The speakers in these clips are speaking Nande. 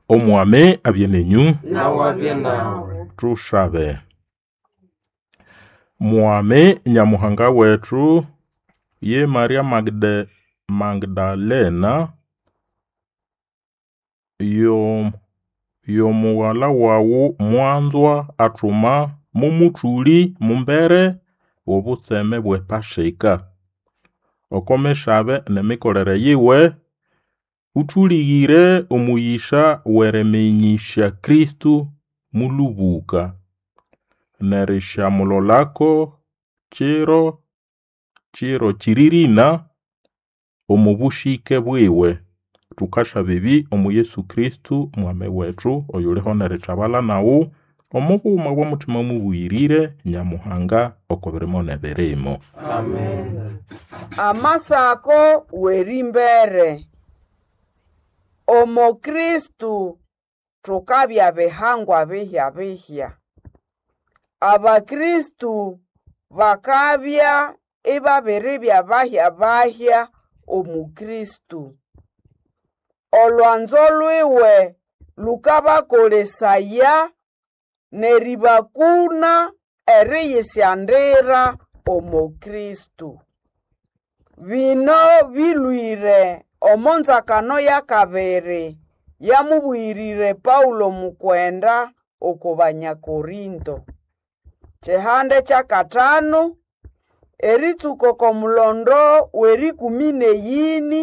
Omwami abye nenyu. Nawe abye nawe. Tushabe. Mwami Nyamuhanga wetu, ye Maria Magdalena, y'omughala wawu mwanzwa athuma mumuthũlĩ mumbere w'obutseme bw'ePasika. Oko misabe n'emikolere yiwe, ũthũlĩgĩre omũyĩsa w'eriminyĩsya Kristo mũlũbũka, n'erisyamulolako kiro kiro kĩrĩrĩna omo bũsĩke bwiwe. Tukasaba ebi omo Yesu Kristo Mwami wetu, oyuliho n'erithabala nawu omo bughuma bw'omutima mubuyirire Nyamuhanga oko birimo n'ebirimo. Amen. Amasako w'erimbere. Omo Kristo thukabya bihangwa bihya-bihya. Abakristo bakabya ibabiribya bahya-bahya omu Kristo. Olwanzo lwiwe lukabakolesaya n'eribakuna eriyisyandira omo Kristo. Bino bilwire omo nzakano y'akabiri yamubwirire Paulo mukwenda oko Banyakorinto. Kihande ky'akatano eritsuka oko mulondo w'erikumi n'eyini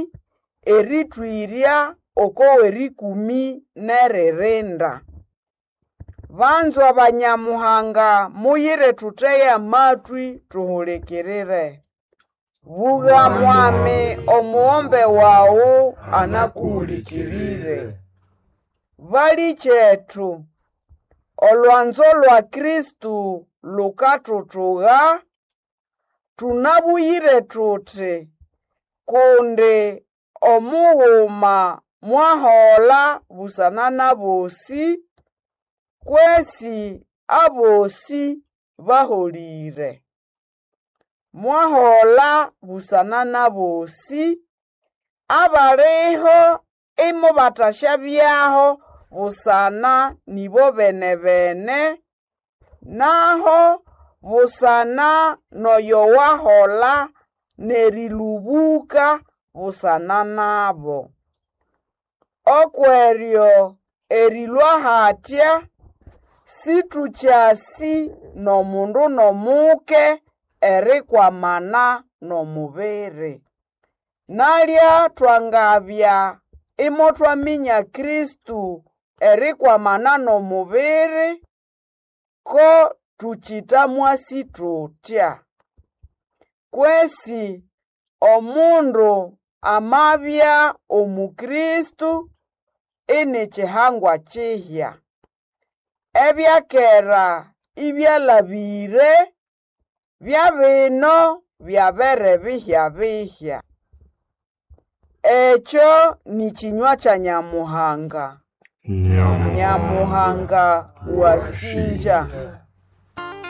erithwirya oko w'erikumi n'eririnda. Banzwa Banyamuhanga, muyire thuthege amatwi thuhulikirire. Bugha Mwami, omughombe wawu anakuhulikirire. Balikyetu, olwanzo lwa Kristo lukathuthuga, tunabuyire thuthi, kundi omughuma mwahola busana n'abosi, kwesi abosi baholire. Mwahola busana n'abosi, abaliho imubathashabyaho busana nibo bene-bene, naho busana n'oyo wahola n'erilubuka busana nabo. Okweryo erilwa hatya, situkyasi n'omundu n'omuke erikwamana n'omubiri. Nalya twangabya imothwaminya Kristo erikwamana n'omubiri, ko tukyitamwasi thuthya. Kwesi omundu amabya omu Kristo ini kihangwa kihya. Ebyakera ibyalabire, byabino byabere bihya-bihya. Ekyo ni kinywa kya Nyamuhanga. Nyamuhanga wasinja.